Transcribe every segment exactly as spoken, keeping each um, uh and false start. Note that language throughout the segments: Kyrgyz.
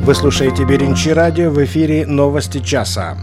Вы слушаете Биринчи радио, в эфире «Новости часа».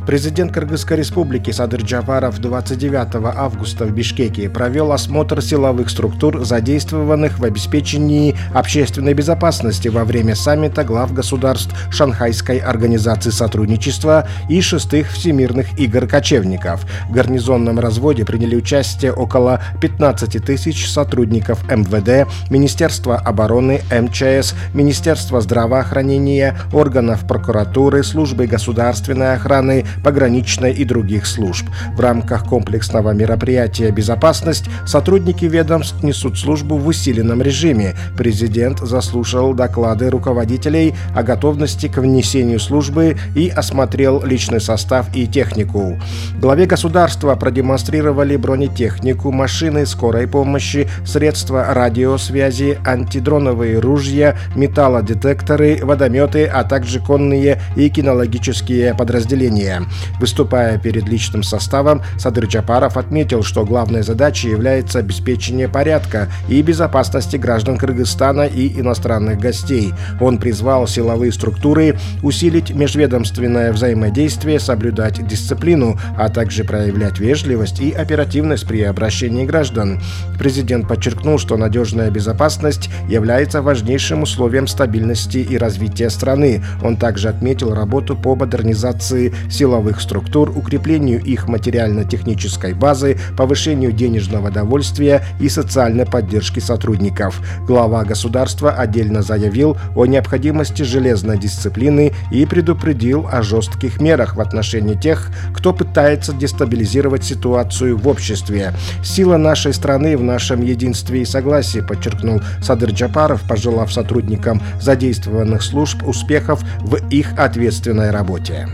Президент Кыргызской республики Садыр Джапаров двадцать девятого августа в Бишкеке провел осмотр силовых структур, задействованных в обеспечении общественной безопасности во время саммита глав государств Шанхайской организации сотрудничества и шестых Всемирных игр кочевников. В гарнизонном разводе приняли участие около пятнадцати тысяч сотрудников эм вэ дэ, Министерства обороны, эм че эс, Министерства здравоохранения, органов прокуратуры, службы государственной охраны, пограничной и других служб. В рамках комплексного мероприятия «Безопасность» сотрудники ведомств несут службу в усиленном режиме. Президент заслушал доклады руководителей о готовности к внесению службы и осмотрел личный состав и технику. Главе государства продемонстрировали бронетехнику, машины скорой помощи, средства радиосвязи, антидроновые ружья, металлодетекторы, водометы, а также конные и кинологические подразделения. Выступая перед личным составом, Садыр Джапаров отметил, что главной задачей является обеспечение порядка и безопасности граждан Кыргызстана и иностранных гостей. Он призвал силовые структуры усилить межведомственное взаимодействие, соблюдать дисциплину, а также проявлять вежливость и оперативность при обращении граждан. Президент подчеркнул, что надежная безопасность является важнейшим условием стабильности и развития страны. Он также отметил работу по модернизации силовых структур, укреплению их материально-технической базы, повышению денежного довольствия и социальной поддержки сотрудников. Глава государства отдельно заявил о необходимости железной дисциплины и предупредил о жестких мерах в отношении тех, кто пытается дестабилизировать ситуацию в обществе. Сила нашей страны в нашем единстве и согласии, подчеркнул Садыр Джапаров, пожелав сотрудникам задействованных служб успехов в их ответственной работе.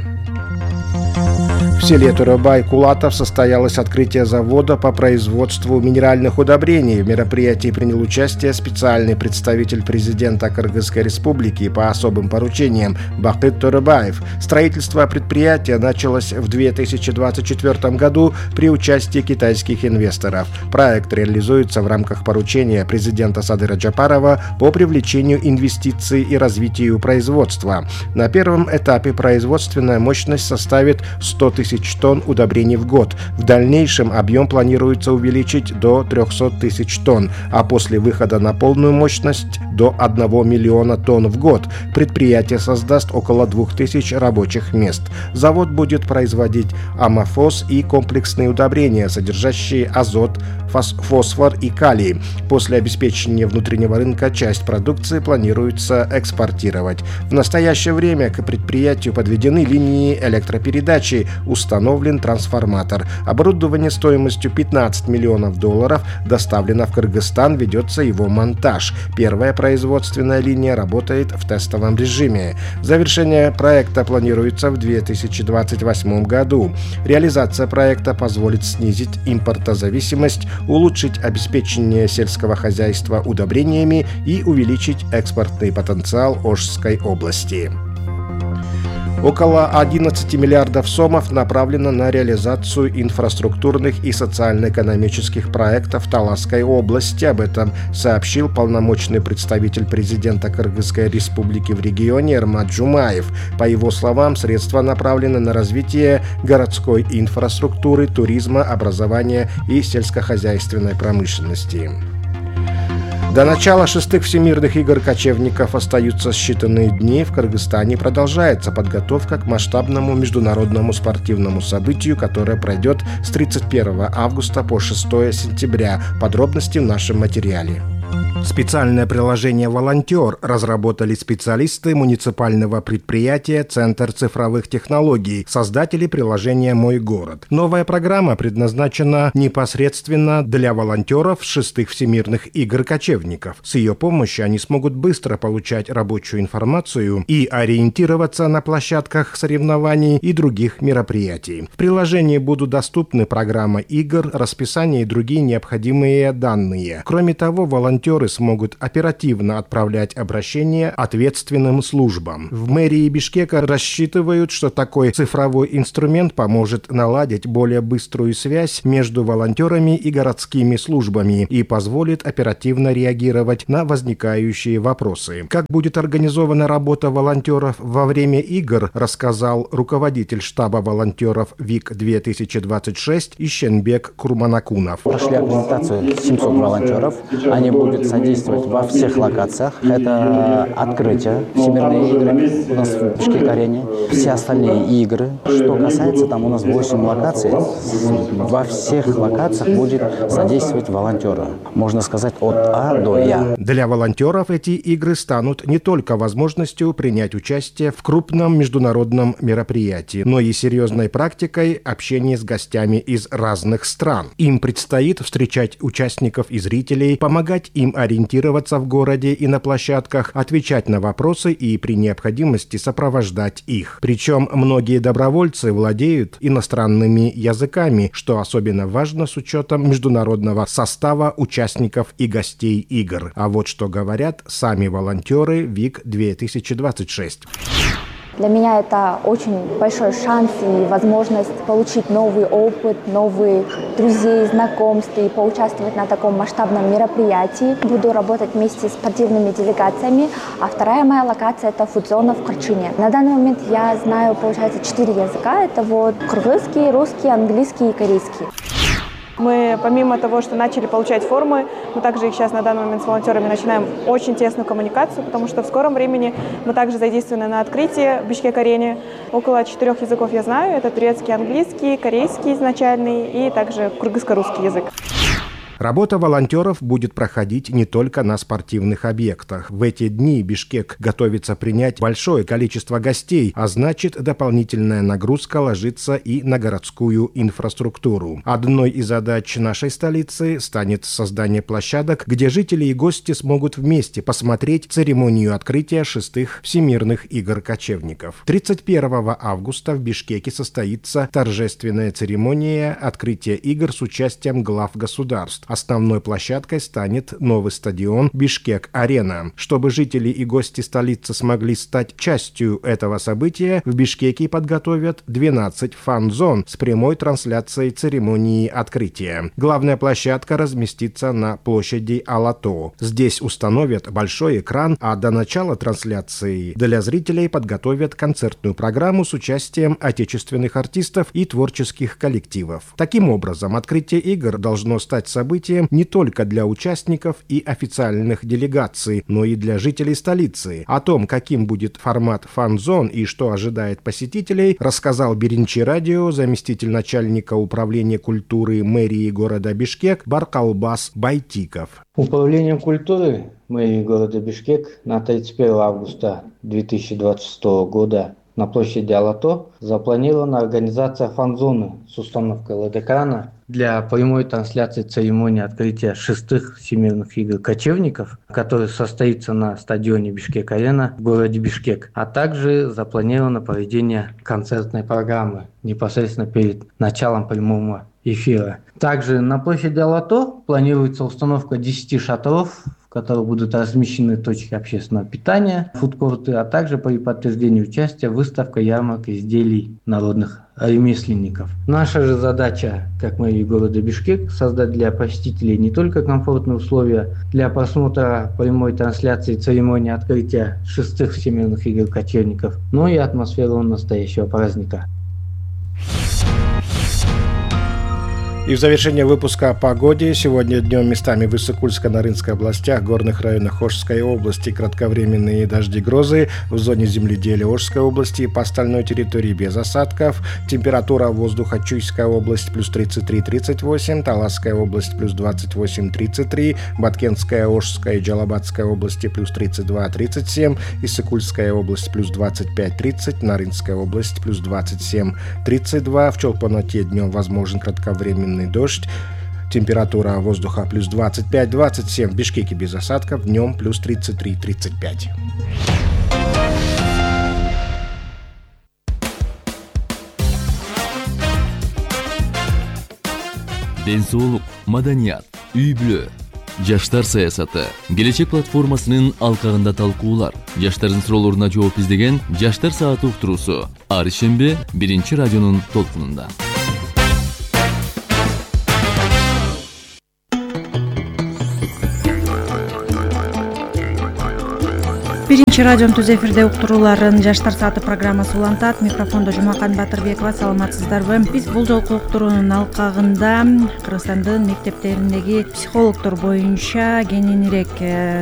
В селе Турабай-Кулатов состоялось открытие завода по производству минеральных удобрений. В мероприятии принял участие специальный представитель президента Кыргызской республики по особым поручениям Бакыт Турабаев. Строительство предприятия началось в две тысячи двадцать четвёртом году при участии китайских инвесторов. Проект реализуется в рамках поручения президента Садыра Джапарова по привлечению инвестиций и развитию производства. На первом этапе производственная мощность составит сто тысяч тонн удобрений в год. В дальнейшем объем планируется увеличить до трехсот тысяч тонн, а после выхода на полную мощность до одного миллиона тонн в год. Предприятие создаст около двух тысяч рабочих мест. Завод будет производить амофос и комплексные удобрения, содержащие азот, фосфор и калий. После обеспечения внутреннего рынка часть продукции планируется экспортировать. В настоящее время к предприятию подведены линии электропередачи, установлен трансформатор. Оборудование стоимостью пятнадцать миллионов долларов доставлено в Кыргызстан, ведется его монтаж. Первая производственная линия работает в тестовом режиме. Завершение проекта планируется в две тысячи двадцать восьмом году. Реализация проекта позволит снизить импортозависимость, улучшить обеспечение сельского хозяйства удобрениями и увеличить экспортный потенциал Ошской области. Около одиннадцати миллиардов сомов направлено на реализацию инфраструктурных и социально-экономических проектов в Таласской области. Об этом сообщил полномочный представитель президента Кыргызской республики в регионе Эрмат Жумаев. По его словам, средства направлены на развитие городской инфраструктуры, туризма, образования и сельскохозяйственной промышленности. До начала шестых Всемирных игр кочевников остаются считанные дни. В Кыргызстане продолжается подготовка к масштабному международному спортивному событию, которое пройдет с тридцать первого августа по шестого сентября. Подробности в нашем материале. Специальное приложение «Волонтер» разработали специалисты муниципального предприятия «Центр цифровых технологий», создатели приложения «Мой город». Новая программа предназначена непосредственно для волонтеров шестых Всемирных игр кочевников. С ее помощью они смогут быстро получать рабочую информацию и ориентироваться на площадках соревнований и других мероприятий. В приложении будут доступны программа игр, расписание и другие необходимые данные. Кроме того, волонтеры волонтеры смогут оперативно отправлять обращения ответственным службам. В мэрии Бишкека рассчитывают, что такой цифровой инструмент поможет наладить более быструю связь между волонтерами и городскими службами и позволит оперативно реагировать на возникающие вопросы. Как будет организована работа волонтеров во время игр, рассказал руководитель штаба волонтеров ВИК две тысячи двадцать шесть Ищенбек Курманакунов. Прошли аккредитацию семьсот волонтеров. Они будут содействовать во всех локациях. Это открытие, всемирные игры у нас в Бишкек-арене, все остальные игры. Что касается, там у нас восемь локаций. Во всех локациях будет содействовать волонтеры. Можно сказать, от А до Я. Для волонтеров эти игры станут не только возможностью принять участие в крупном международном мероприятии, но и серьезной практикой общения с гостями из разных стран. Им предстоит встречать участников и зрителей, помогать им ориентироваться в городе и на площадках, отвечать на вопросы и при необходимости сопровождать их. Причем многие добровольцы владеют иностранными языками, что особенно важно с учетом международного состава участников и гостей игр. А вот что говорят сами волонтеры ВИК две тысячи двадцать шесть. Для меня это очень большой шанс и возможность получить новый опыт, новые друзей, знакомств и поучаствовать на таком масштабном мероприятии. Буду работать вместе с спортивными делегациями, а вторая моя локация – это фудзона в Корчуне. На данный момент я знаю, получается, четыре языка. Это вот кыргызский, русский, английский и корейский. Мы, помимо того, что начали получать формы, мы также их сейчас на данный момент с волонтерами начинаем очень тесную коммуникацию, потому что в скором времени мы также задействованы на открытии в Бишкек-арене. Около четырех языков я знаю. Это турецкий, английский, корейский изначальный и также кыргызско-русский язык. Работа волонтеров будет проходить не только на спортивных объектах. В эти дни Бишкек готовится принять большое количество гостей, а значит, дополнительная нагрузка ложится и на городскую инфраструктуру. Одной из задач нашей столицы станет создание площадок, где жители и гости смогут вместе посмотреть церемонию открытия шестых Всемирных игр кочевников. тридцать первого августа в Бишкеке состоится торжественная церемония открытия игр с участием глав государств. Основной площадкой станет новый стадион Бишкек-арена. Чтобы жители и гости столицы смогли стать частью этого события, в Бишкеке подготовят двенадцать фан-зон с прямой трансляцией церемонии открытия. Главная площадка разместится на площади Алато. Здесь установят большой экран, а до начала трансляции для зрителей подготовят концертную программу с участием отечественных артистов и творческих коллективов. Таким образом, открытие игр должно стать событием не только для участников и официальных делегаций, но и для жителей столицы. О том, каким будет формат фан-зон и что ожидает посетителей, рассказал Биринчи радио заместитель начальника управления культуры мэрии города Бишкек Баркалбас Байтиков. Управлением культуры мэрии города Бишкек на тридцать первого августа две тысячи двадцать шестого года на площади Алато запланирована организация фан-зоны с установкой эл и ди-экрана для прямой трансляции церемонии открытия шестых Всемирных игр кочевников, который состоится на стадионе Бишкек-арена в городе Бишкек, а также запланировано проведение концертной программы непосредственно перед началом прямого эфира. Также на площади Алато планируется установка десяти шатров, в которых будут размещены точки общественного питания, фудкорты, а также при подтверждении участия выставка ярмарка изделий народных ремесленников. Наша же задача, как мэрии города Бишкек, создать для посетителей не только комфортные условия для просмотра прямой трансляции церемонии открытия шестых Всемирных игр кочевников, но и атмосферу настоящего праздника. И в завершение выпуска о погоде. Сегодня днем местами в Иссык-Кульско-Нарынской областях, горных районах Ошской области кратковременные дожди, грозы. В зоне земледелия Ошской области по остальной территории без осадков. Температура воздуха: Чуйская область плюс тридцать три — тридцать восемь, Таласская область плюс двадцать восемь — тридцать три, Баткенская, Ошская и Джалабадская области плюс тридцать два — тридцать семь, Иссык-Кульская область плюс двадцать пять — тридцать, Нарынская область плюс двадцать семь — тридцать два. В Чолпоноте днем возможен кратковременный дождь. Температура воздуха плюс двадцать пять — двадцать семь, в Бишкеке без осадков, днем плюс тридцать три — тридцать пять. Ден соолук, маданият, үй бүлө. жаштар саясаты, келечек платформасынын алкагында талкуулар, жаштардын суроолоруна жооп издеген жаштар сааты уктуруусу ар ишемби биринчи радионун толкунунда. Биринчи радионун түз эфирде уктурууларын жаштар сааты программасы улантат. Микрофондо Жумакан Батырбекова. Саламатсыздарбы? Биз бул жолку уктуруунун алкагында Кыргызстандын мектептериндеги психологдор боюнча кененирээк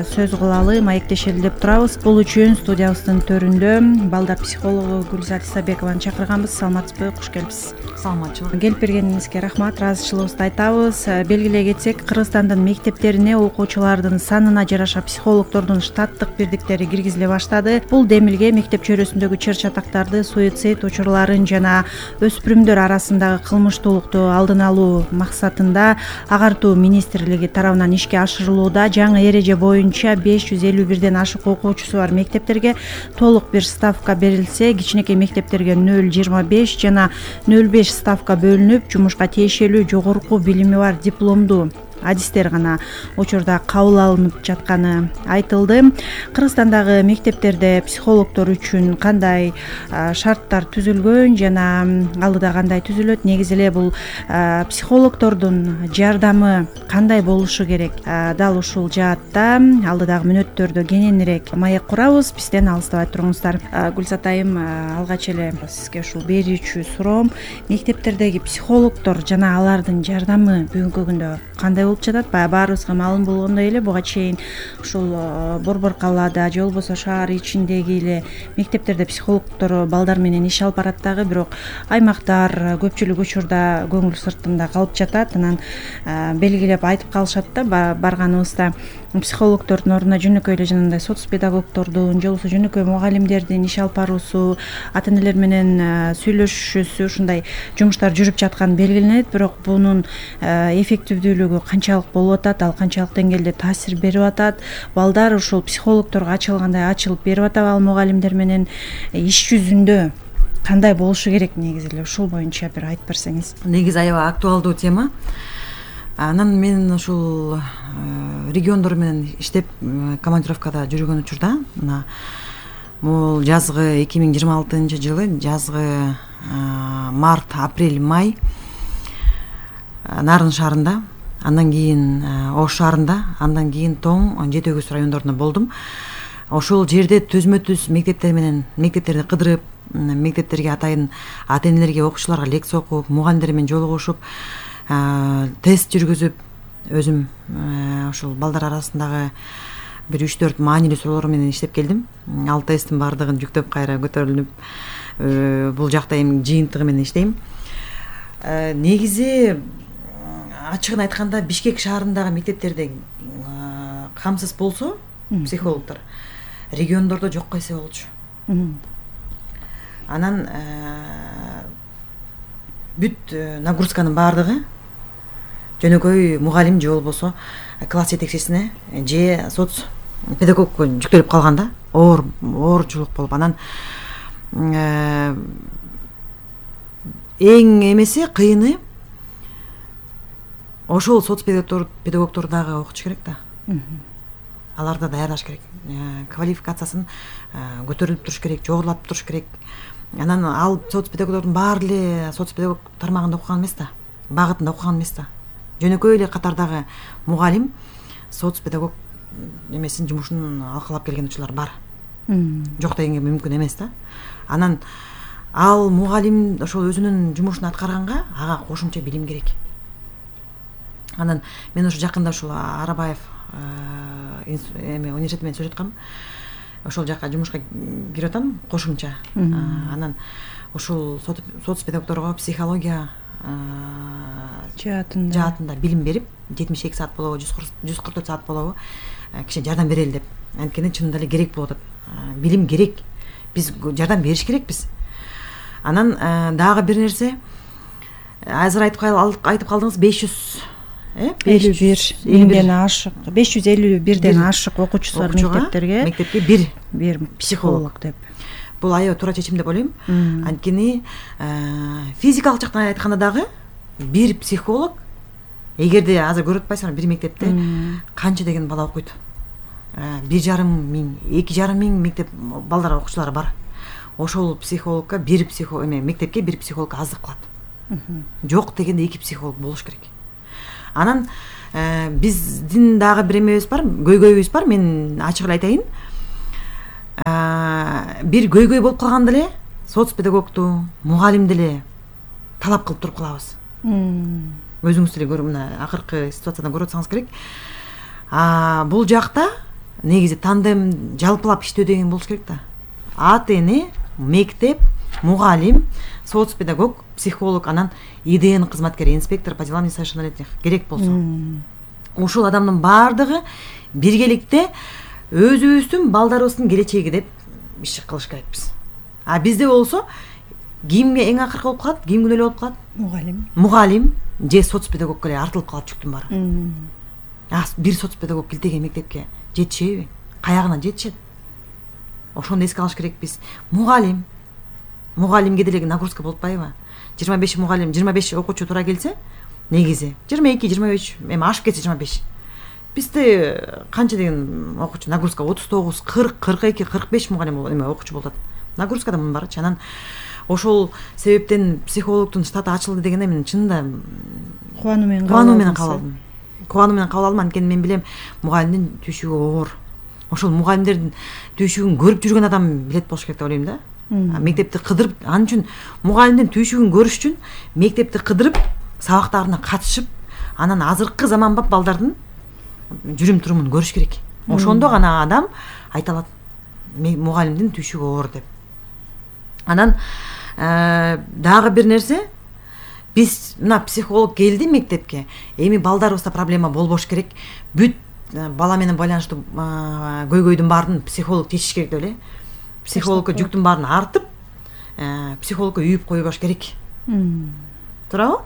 сөз кылалы, маектешели деп турабыз. Бул үчүн студиябыздын төрүндө балдар психологу Гүлзат Исабекованы чакырганбыз. Саламатсызбы? Куш келипсиз. Саламатчылык. Келип бергениңизге рахмат, ыраазычылыгыбызды айтабыз. Белгилей кетсек, Кыргызстандын мектептерине окуучулардын санына жараша психологдордун штаттык бирдиктери киргизиле баштады. Бул демилге мектеп чөйрөсүндөгү чыр-чатактарды, суицид учурларын жана өспүрүмдөр арасындагы кылмыштуулукту алдын алуу максатында агартуу министрлиги тарабынан ишке ашырылууда. Жаңы эреже боюнча беш жүз элүү бирден ашык окуучусу бар мектептерге толук бир ставка берилсе, кичинекей мектептерге нөл жыйырма беш жана нөл беш ставка бөлүнүп, жумушка тиешелүү жогорку билими бар дипломдуу адистер гана учурда кабыл алынып жатканы айтылды. Кыргызстандагы мектептерде психологдор үчүн кандай шарттар түзүлгөн жана алдыда кандай түзүлөт? Негизи эле бул психологдордун жардамы кандай болушу керек? Дал ушул жаатта алдыдагы мүнөттөрдө кененирээк маек курабыз. Бизден алыстабай туруңуздар. Гүлзат айым, алгач эле сизге ушул берүүчү суроом: мектептердеги психологдор жана алардын жардамы бүгүнкү күндө кандай болуп жатат? Баягы баарыбызга маалым болгондой эле буга чейин ушул борбор калаада же болбосо шаар ичиндеги эле мектептерде психологдор балдар менен иш алып барат дагы, бирок аймактар көпчүлүк учурда көңүл сыртында калып жатат. Анан белгилеп айтып калышат да барганыбызда психологдордун ордуна жөнөкөй эле жанагындай соц педагогдордун же болбосо жөнөкөй мугалимдердин иш алып баруусу, ата энелер менен сүйлөшүүсү, ушундай жумуштар жүрүп жатканы белгиленет. Бирок бунун эффективдүүлүгү канчалык болуп атат, ал канчалык деңгээлде таасир берип атат? Балдар ушул психологдорго ачылгандай ачылып берип атабы? Ал мугалимдер менен иш жүзүндө кандай болушу керек? Негизи эле ушул боюнча бир айтып берсеңиз. Негизи аябай актуалдуу тема. Анан мен ушул региондор менен иштеп командировкада жүргөн учурда, мына бул жазгы эки миң жыйырма алтынчы жылы жазгы март, апрель, май Нарын шаарында, андан кийин Ош шаарында, андан кийин Тоң, Жети Өгүз райондорунда болдум. Ошол жерде түзмө-түз мектептер менен мектептерди кыдырып, мектептерге атайын ата энелерге, окуучуларга лекция окуп, мугалимдер менен жолугушуп, тест жүргүзүп, өзүм ошол балдар арасындагы бир үч төрт маанилүү суроолор менен иштеп келдим. Ал тесттин баардыгын жүктөп кайра көтөрүлүп, бул жакта эми жыйынтыгы менен иштейм. Негизи ачыгын айтканда Бишкек шаарындагы мектептерде камсыз болсо психологдор, региондордо жок койсо болчу. Анан бүт нагрузканын баардыгы жөнөкөй мугалим же болбосо класс жетекчисине же соц педагогко жүктөлүп калганда оор оорчулук болуп, анан эң эмеси кыйыны ошол соц педагогдор дагы окутуш керек да. Аларды даярдаш керек. Квалификациясын көтөрүлүп туруш керек, жогорулатып туруш керек. Анан ал соц педагогдордун баары эле соц педагог тармагында окуган эмес да, багытында окуган эмес да. Жөнөкөй эле катардагы мугалим соц педагог эмесин жумушун алкалап келген учурлар бар. Жок дегенге мүмкүн эмес да. Анан ал мугалим ошол өзүнүн жумушун аткарганга ага кошумча билим керек. Анан мен ушу жакында ушул Арабаев эме университети менен сүйлөп аткам. Ошол жака жумушка кирип атам кошумча. Анан ушул соц педагогдорго психология жаатында жаатында билим берип, жетимиш эки саат болобу, жүз кырк төрт саат болобу, кичине жардам берели деп. Анткени чынында эле керек болуп атат. Билим керек. Биз жардам бериш керекпиз. Анан дагы бир нерсе, азыр айтып айтып калдыңыз, беш жүз элүү бирден ашык, беш жүз элүү бирден ашык окуучусу бар мектептерге мектепке бир бир психолог деп. Бул аябай туура чечим деп ойлойм. Анткени физикалык жактан айтканда дагы бир психолог эгерде азыр көрүп атпайсыңар, бир мектепте канча деген бала окуйт, бир жарым миң, эки жарым миң мектеп балдар окуучулары бар. Ошол психологко бир психолог эме мектепке бир психолог аздык кылат. Жок дегенде эки психолог болуш керек. Анан биздин дагы бир эмебиз бар, көйгөйүбүз бар. Мен ачык эле айтайын. Бир көйгөй болуп калганда эле соц педагогту, мугалимди эле талап кылып туруп калабыз. Өзүңүз деле көрүп, мына акыркы ситуациядан көрүп атсаңыз керек. Бул жакта негизи тандем жалпылап иштөө деген болуш керек да. ата эне, мектеп, мугалим, соц педагог, психолог, анан ИДН кызматкери, инспектор по делам несовершеннолетних керек болсо. Ушул адамдын баардыгы биргеликте өзүбүздүн балдарыбыздын келечеги деп иш кылыш керекпиз. А бизде болсо кимге эң акыркы болуп калат, ким күнөөлүү болуп калат? Мугалим. Мугалим же соц педагогко эле артылып калат жүктүн баары. А бир соц педагог килтеген мектепке жетишеби? Каягынан жетишет? Ошону эске алыш керекпиз. Мугалим. Мугалимге деле нагрузка болуп атпайбы? жыйырма беш мугалим, жыйырма беш окуучу туура келсе, негизи жыйырма эки, жыйырма үч, эми ашып кетсе жыйырма беш. Бизде канча деген окуучу нагрузка отуз тогуз, кырк, кырк эки, кырк беш мугалим болот, эме окуучу болот. Нагрузка да мунун барчы. Анан ошол себептен психологдун штаты ачылды дегенде мен чынында кубануу менен кубануу менен кабыл алдым. Кубануу менен кабыл алдым, анткени мен билем мугалимдин түйшүгү оор. Ошол мугалимдердин түйшүгүн көрүп жүргөн адам билет болуш керек деп ойлойм да. Мектепти кыдырып, анын үчүн мугалимдин түйшүгүн көрүш үчүн мектепти кыдырып, сабактарына катышып, анан азыркы заманбап балдардын жүрүм турумун көрүш керек. Ошондо гана адам айта алат мугалимдин түйшүгү оор деп. Анан дагы бир нерсе, биз мына психолог келди мектепке, эми балдарыбызда проблема болбош керек. Бүт бала менен байланыштуу көйгөйдүн баарын психолог чечиш керек деп эле. Психологко жүктүн баарын артып, психологко үйүп койбош керек. Туурабы?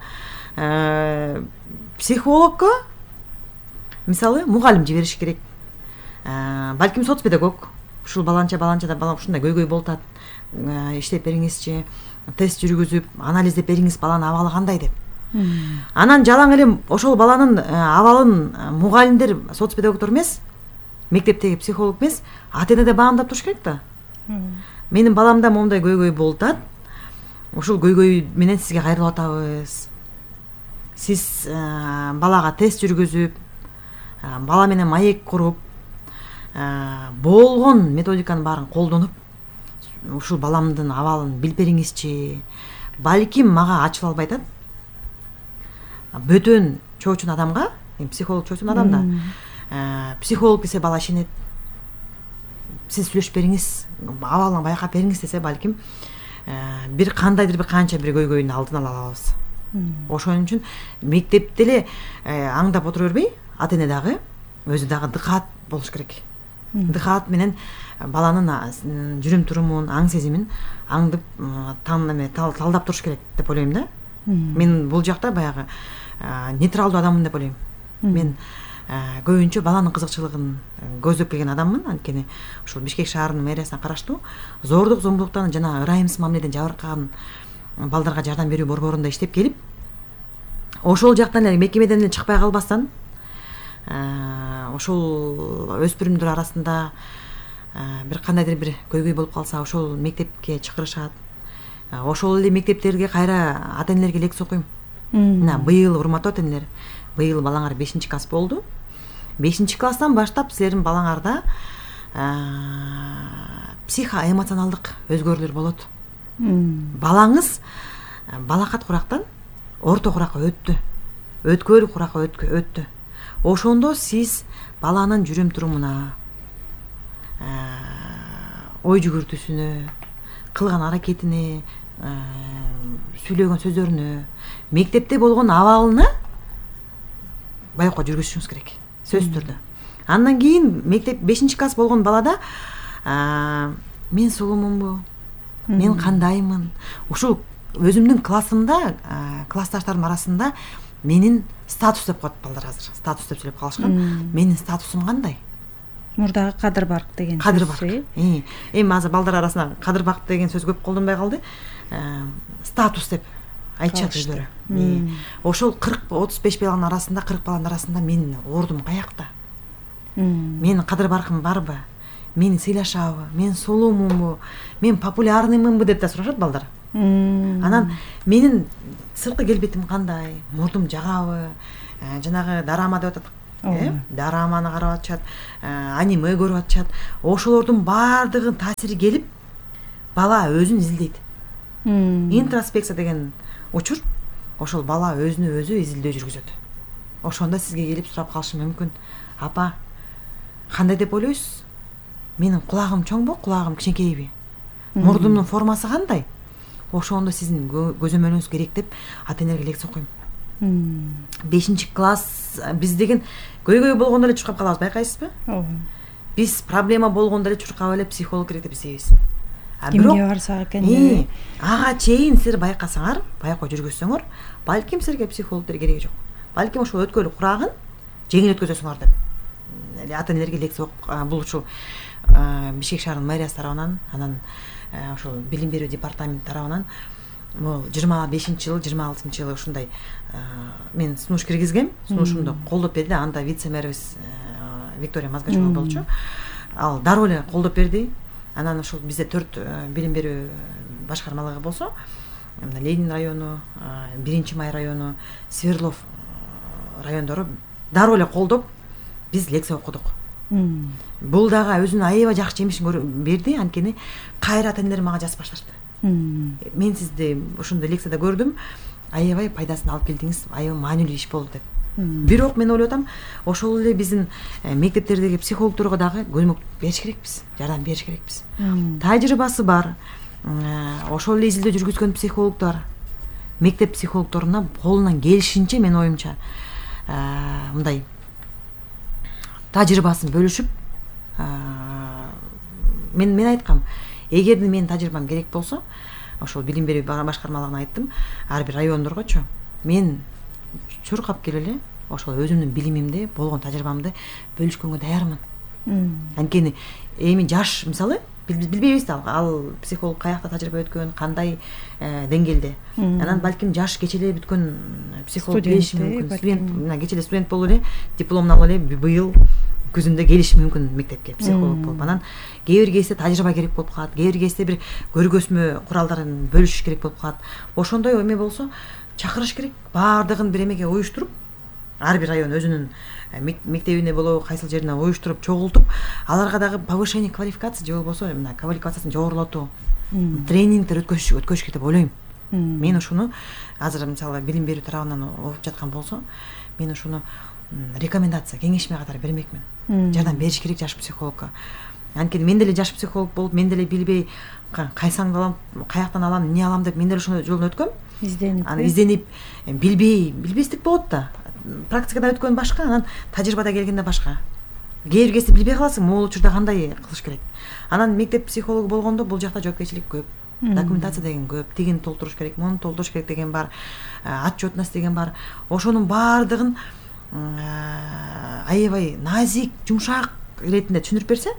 Психологко мисалы мугалим жибериш керек. Балким соц педагог ушул баланча баланчада бала ушундай көйгөй болуп атат. Иштеп бериңизчи, тест жүргүзүп, анализдеп бериңиз, баланын абалы кандай деп. Анан жалаң эле ошол баланын абалын мугалимдер, соц педагогдор эмес, мектептеги психолог эмес, ата эне да баамдап туруш керек да. Менин баламда моундай көйгөй болуп атат. Ушул көйгөй менен сизге кайрылып атабыз. Сиз балага тест жүргүзүп, бала менен маек куруп, болгон методиканын баарын колдонуп, ушул баламдын абалын билип бериңизчи. Балким мага ачыла албай атат. Бөтөн чоочун адамга, психолог чоочун адамда, психолог десе бала ишенет. Сиз сүйлөшүп бериңиз, абалын байкап бериңиз десе, балким бир кандайдыр бир канча бир көйгөйдүн алдын ала алабыз. Ошон үчүн мектепте эле аңдап отура бербей, ата эне дагы өзү дагы дыкаат болуш керек. Дыкаат менен баланын жүрүм турумун, аң сезимин аңдып, талдап туруш керек деп ойлойм да. Мен бул жакта баягы нейтралдуу адаммын деп ойлойм. Мен көбүнчө баланын кызыкчылыгын көздөп келген адаммын, анткени ушул Бишкек шаарынын мэриясына караштуу зордук, зомбулуктан жана ырайымсыз мамиледен жабыркаган балдарга жардам берүү борборунда иштеп келип, ошол жактан эле мекемеден эле чыкпай калбастан, ошол өспүрүмдөр арасында бир кандайдыр бир көйгөй болуп калса, ошол мектепке чакырышат. Ошол эле мектептерге кайра ата энелерге лекция окуйм. Мына быйыл, урматтуу ата энелер, быйыл балаңар бешинчи класс болду. бешинчи класстан баштап силердин балаңарда психоэмоционалдык өзгөрүүлөр болот. Балаңыз балакат курактан орто куракка өттү. Өткөл куракка өттү. Ошондо сиз баланын жүрүм турумуна, ой жүгүртүүсүнө, кылган аракетине, сүйлөгөн сөздөрүнө, мектепте болгон абалына байкоо жүргүзүшүңүз керек, сөзсүз түрдө. Андан кийин мектеп бешинчи класс болгон балада мен сулуумунбу, мен кандаймын, ушул өзүмдүн классымда, классташтарым арасында менин статус деп коет балдар азыр. Статус деп сүйлөп калышкан. Менин статусум кандай? Мурдагы кадыр барк деген сөз. Кадыр барк. Эми азыр балдар арасында кадыр барк деген сөз көп колдонбой калды. Статус деп айтышат өздөрү. Ошол кырк отуз беш баланын арасында кырк баланын арасында менин ордум каякта? Менин кадыр баркым барбы? Мени сыйлашабы? Мен сулуумунбу? Мен популярныймынбы деп да сурашат балдар. Анан менин сырткы келбетим кандай? Мурдум жагабы? Жанагы дарама деп атат. Э? Дараманы карап атышат, аниме көрүп атышат. Ошолордун баардыгын таасири келип, бала өзүн изилдейт. Интроспекция деген учур, ошол бала өзүнө өзү изилдөө жүргүзөт. Ошондо сизге келип сурап калышы мүмкүн. Апа, кандай деп ойлойсуз? Менин кулагым чоңбу, кулагым кичинекейби? Мурдумдун формасы кандай? Ошондо сиздин көзөмөлүңүз керек деп ата энелерге лекция окуйм. бешинчи класс биз деген көйгөй болгондо эле чуркап калабыз, байкайсызбы? Биз проблема болгондо эле чуркап эле психолог керек деп издейбиз. Кимге барсак экен? Ага чейин силер байкасаңар, байкоо жүргүзсөңөр, балким силерге психологдор кереги жок. Балким ошол өткөл курагын жеңил өткөзөсүңөр деп ата энелерге лекция окуп, бул ушул Бишкек шаарынын мэриясы тарабынан, анан ошол билим берүү департаменти тарабынан бул жыйырма бешинчи жыл, жыйырма алтынчы жылы ушундай мен сунуш киргизгем. Сунушумду колдоп берди. Анда вице-мэрибиз Виктория Мазгачева болчу. Ал дароо эле колдоп берди. Анан ошол бизде төрт билим берүү башкармалыгы болсо, Ленин району, биринчи май району, Свердлов райондору дароо эле колдоп биз лекция окудук. Бул дагы өзүнүн аябай жакшы жемишин берди, анткени кайра ата энелер мага жазып башташты. Мен сизди ошондой лекцияда көрдүм, аябай пайдасын алып келдиңиз, аябай маанилүү иш болду деп. Бирок мен ойлоп атам, ошол эле биздин мектептердеги психологдорго дагы көмөк бериш керекпиз, жардам бериш керекпиз. Тажрыйбасы бар, ошол эле изилдөө жүргүзгөн психологдор, мектеп психологдоруна колунан келишинче мен оюмча мындай тажрыйбасын бөлүшүп, мен мен айткам, эгерде менин тажрыйбам керек болсо, ошол билим берүү башкармалыгына айттым, ар бир райондоргочу мен чуркап келип эле ошол өзүмдүн билимимди, болгон тажрыйбамды бөлүшкөнгө даярмын. Анткени эми жаш, мисалы, биз билбейбиз да ал психолог каякта тажрыйба өткөн, кандай деңгээлде. Анан балким жаш кече эле бүткөн психолог келиши мүмкүн. Студент, кече эле студент болуп эле, дипломун алып эле быйыл күзүндө келиши мүмкүн мектепке психолог болуп. Анан кээ бир кезде тажрыйба керек болуп калат, кээ бир кезде бир көргөзмө куралдарын бөлүшүш керек болуп калат. Ошондой эме болсо чакырыш керек, баардыгын бир эмеге уюштуруп, ар бир район өзүнүн мектебине болобу, кайсыл жерине уюштуруп, чогултуп, аларга дагы повышение квалификации же болбосо мына квалификациясын жогорулатуу, тренингдер өткөзүш өткөзүш керек деп ойлойм. Мен ушуну азыр мисалы билим берүү тарабынан окуп жаткан болсо, мен ушуну рекомендация, кеңешме катары бермекмин. Жардам бериш керек жаш психологко. Анткени мен деле жаш психолог болуп, мен деле билбей кайсаңды алам, каяктан алам, эмне алам деп мен деле ошол жолдон өткөм. Изденип, аны изденип, билбей, билбестик болот да. Практикада өткөн башка, анан тажрыйбада келгенде башка. Кээ бир кезде билбей каласың, могул учурда кандай кылыш керек. Анан мектеп психологу болгондо бул жакта жоопкерчилик көп. Документация деген көп, тигин толтуруш керек, муну толтуруш керек деген бар, отчетность деген бар. Ошонун баардыгын аябай назик, жумшак иретинде түшүндүрүп берсе,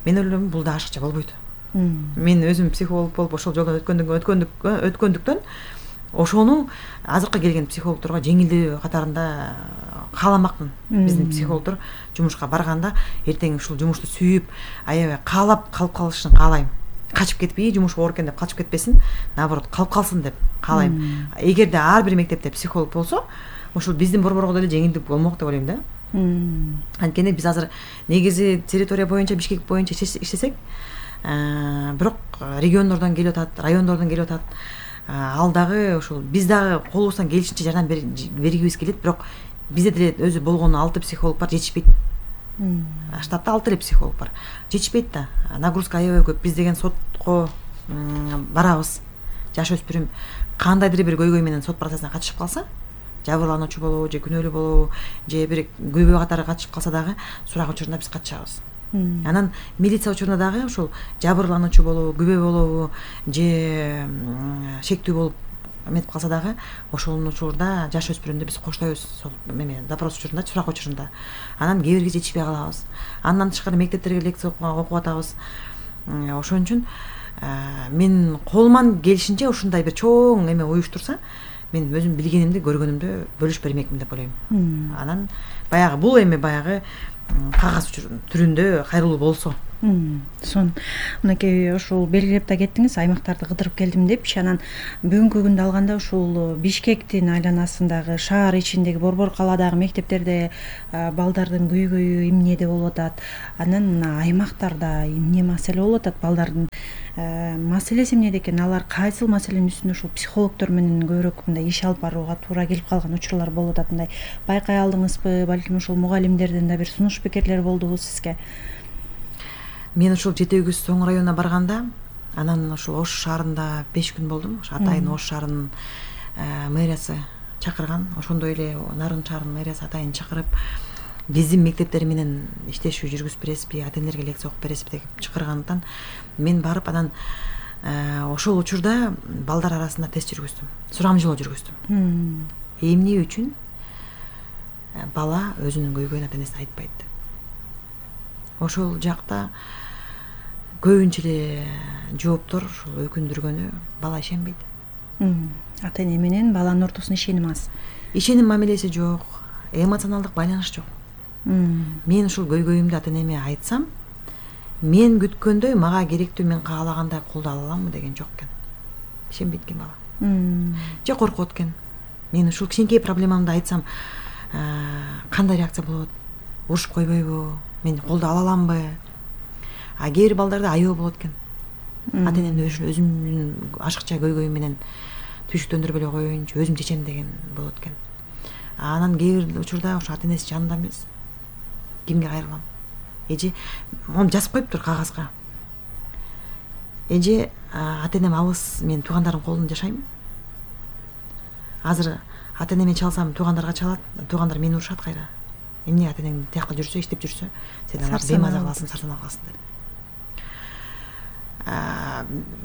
мен ойлойм бул да ашыкча болбойт. Мен өзүм психолог болуп ошол жолдон өткөндүктөн өткөндүктөн ошону азыркы келген психологдорго жеңилдөө катарында кааламакмын. Биздин психологдор жумушка барганда эртең ушул жумушту сүйүп, аябай каалап калып калышын каалайм. Качып кетпей, жумуш оор экен деп качып кетпесин, наоборот, калып калсын деп каалайм. Эгерде ар бир мектепте психолог болсо, ошол биздин борборго деле жеңилдик болмок деп ойлойм да. Анткени биз азыр негизи территория боюнча, Бишкек боюнча иштесек, бирок региондордон келип атат, райондордон келип атат. Ал дагы ошол биз дагы колубуздан келишинче жардам бергибиз келет, бирок бизде деле өзү болгону алты психолог бар, жетишпейт. Штатта алты эле психолог бар. Жетишпейт да. Нагрузка аябай көп. Биз деген сотко барабыз. Жаш өспүрүм кандайдыр бир көйгөй менен сот процессине катышып калса, жабырлануучу болобу, же күнөөлүү болобу, же бир күбө катары катышып калса дагы сурак учурунда биз катышабыз. Анан милиция учурунда дагы ошол жабырлануучу болобу, күбө болобу, же шектүү болуп эметип калса дагы ошол учурда жаш өспүрүмдү биз коштойбуз, эме допрос учурунда, сурак учурунда. Анан кээ бирге жетишпей калабыз. Андан тышкары мектептерге лекция окуп атабыз. Ошон үчүн мен колуман келишинче ушундай бир чоң эме уюштурса, мен өзүм билгенимди көргөнүмдү бөлүшүп бермекмин деп ойлойм. Анан баягы бул эми баягы кагаз түрүндө кайрылуу болсо. Сон мынакей ушул белгилеп да кеттиңиз, аймактарды кыдырып келдим депчи. Анан бүгүнкү күндө алганда ушул Бишкектин айланасындагы, шаар ичиндеги, Борбор калаадагы мектептерде балдардын көйгөйү эмнеде болуп атат? Анан мына аймактарда эмне маселе болуп атат? Балдардын маселеси эмнеде экен? Алар кайсыл маселенин үстүндө ушул психологдор менен көбүрөөк мындай иш алып барууга туура келип калган учурлар болуп атат? Мындай байкай алдыңызбы? Балким ушул мугалимдерден да бир сунуш пикирлер болдубу сизге? Мен ушул жети өгүз Соң районуна барганда, анан ушул Ош шаарында беш күн болдум. Ошо атайын Ош шаарынын мэриясы чакырган, ошондой эле Нарын шаарынын мэриясы атайын чакырып, биздин мектептер менен иштешүү жүргүзүп бересизби, ата энелерге лекция окуп бересизби деп чакыргандыктан мен барып, анан ошол учурда балдар арасында тест жүргүздүм, сурамжылоо жүргүздүм. Эмне үчүн бала өзүнүн көйгөйүн ата энесине айтпайт? Ошол жакта көбүнчө эле жооптор ушул өкүндүргөнү, бала ишенбейт. Ата эне менен баланын ортосунда ишеним аз. Ишеним мамилеси жок, эмоционалдык байланыш жок. Мен ушул көйгөйүмдү ата энеме айтсам, мен күткөндөй мага керектүү, мен каалагандай колдоо ала аламбы деген жок экен. Ишенбейт экен бала. Же коркот экен. Мен ушул кичинекей проблемамды айтсам, кандай реакция болот? Урушуп койбойбу? Мен колдоо ала аламбы? А кээ бир балдарда аябы болот экен. Ата энемди өзүмдүн ашыкча көйгөйүм менен түйшүктөндүрбөй эле коеюнчу, өзүм чечем деген болот экен. Анан кээ бир учурда ошо ата энеси жанында эмес. Кимге кайрылам? Эже мону жазып коюптур кагазга. Эже ата энем алыс, мен туугандардын колунда жашайм. Азыр ата энеме чалсам, туугандарга чалат, туугандар мени урушат кайра. Эмне ата энең тиякта жүрсө, иштеп жүрсө, сен алар беймаза кыласың, сарсанаа кыласың деп.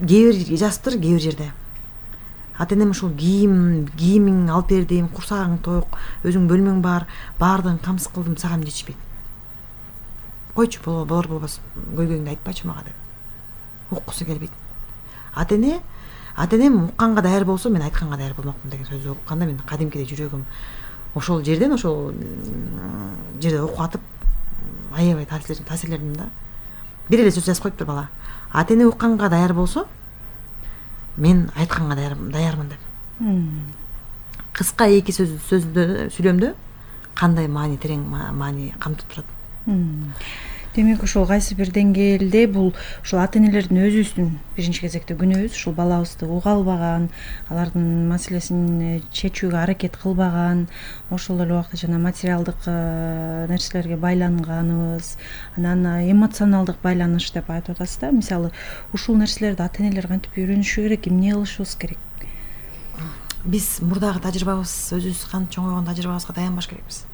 Кээ бир жазыптыр, кээ бир жерде. Ата энем ушул кийим, кийимиң алып бердим, курсагың ток, өзүң бөлмөң бар, баардыгын камсыз кылдым, сага эмне жетишпейт? Койчу, болор болбос, көйгөйүңдү айтпачы мага деп. Уккусу келбейт. Ата эне, ата энем укканга даяр болсо, мен айтканга даяр болмокмун деген сөздү укканда мен кадимкиде жүрөгүм ошол жерден, ошол жерде окуп атып, аябай таасирлендим да. Бир эле сөз жазып коюптур бала. Ата эне укканга даяр болсо, мен айтканга даярмын деп. Кыска эки сөз сөздө сүйлөмдө кандай маани, терең маани камтып турат. Демек ушул кайсы бир деңгээлде бул ушул ата энелердин өзүбүздүн биринчи кезекте күнөөбүз, ушул балабызды уга албаган, алардын маселесин чечүүгө аракет кылбаган, ошол эле убакта жана материалдык нерселерге байланганыбыз, анан эмоционалдык байланыш деп айтып атасыз да. Мисалы, ушул нерселерди ата энелер кантип үйрөнүшү керек, эмне кылышыбыз керек? Биз мурдагы тажрыйбабыз, өзүбүз кантип чоңойгон тажрыйбабызга таянбаш керекпиз.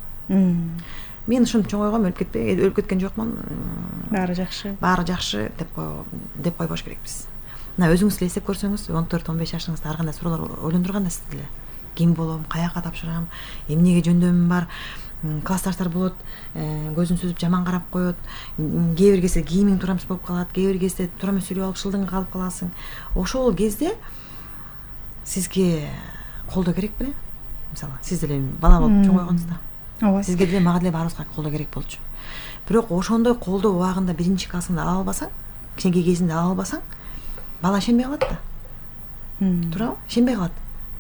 Мен ушинтип чоңойгом, өлүп кетпей, өлүп кеткен жокмун. Баары жакшы. Баары жакшы деп деп койбош керекпиз. Мына өзүңүз эле эстеп көрсөңүз, он төрт он беш жашыңызда ар кандай суроолор ойлондурган да сизди эле. Ким болом, каяка тапшырам, эмнеге жөндөмүм бар, классташтар болот, көзүн сүзүп жаман карап коет, кээ бир кезде кийимиң туура эмес болуп калат, кээ бир кезде туура эмес сүйлөп алып шылдыңга калып каласың. Ошол кезде сизге колдоо керек беле? Мисалы, сиз деле бала болуп чоңойгонсузда. Ооба. Сизге деле, мага деле баарыбызга колдоо керек болчу. Бирок ошондой колдоо убагында биринчи классыңда ала албасаң, кичинекей кезинде ала албасаң, бала ишенбей калат да. Туурабы? Ишенбей калат.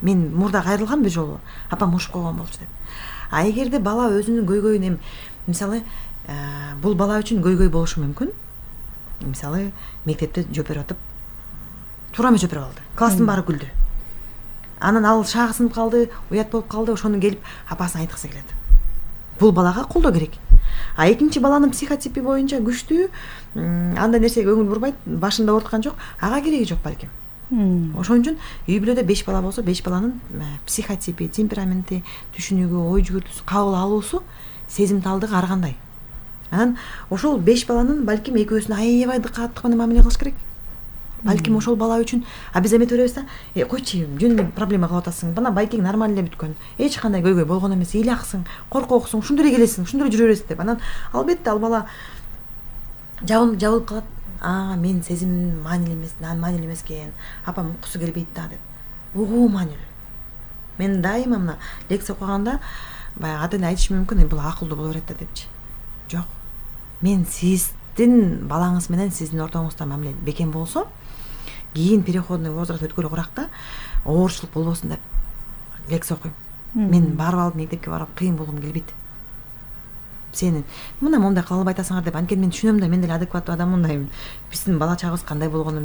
Мен мурда кайрылгам бир жолу, апам урушуп койгон болчу деп. А эгерде бала өзүнүн көйгөйүн, эми мисалы, бул бала үчүн көйгөй болушу мүмкүн. Мисалы, мектепте жооп берип атып, туура эмес жооп берип алды. Класстын баары күлдү. Анан ал шаагы сынып калды, уят болуп калды, ошону келип апасына айткысы келет. Бул балага колдоо керек. А экинчи баланын психотипи боюнча күчтүү, андай нерсеге көңүл бурбайт, башында ооруткан жок, ага кереги жок балким. Ошон үчүн үй бүлөдө беш бала болсо, беш баланын психотипи, темпераменти, түшүнүгү, ой жүгүртүүсү, кабыл алуусу, сезимталдыгы ар кандай. Анан ошол беш баланын балким экөөсүнө аябай дыкаттык менен мамиле кылыш керек. Балким ошол бала үчүн а биз эметип беребиз да, э койчу, жөн проблема кылып атасың. Бана байкең нормально эле бүткөн. Эч кандай көйгөй болгон эмес, ыйлаксың, коркоксуң, ушундай эле келесиң, ушундай эле жүрө бересиң деп. Анан албетте ал бала жабылып жабылып калат. А, мен сезим маанилүү эмес, маанилүү эмес экен. Апам уккусу келбейт да деп. Угуу маанилүү. мен дайыма мына лекция окуганда баягы ата эне айтышы мүмкүн, бул акылдуу боло берет да депчи. Жок. Мен сиздин балаңыз менен сиздин ортоңузда мамиле бекем болсо, кийин переходный возраст өткөлү куракта оорчулук болбосун деп лекция окуйм. Мен барып алып мектепке барып кыйын болгум келбейт. Сени мына мондай кыла албай атасыңар деп, анткени мен түшүнөм да, мен деле адекваттуу адаммын да. Биздин бала чагыбыз кандай болгонун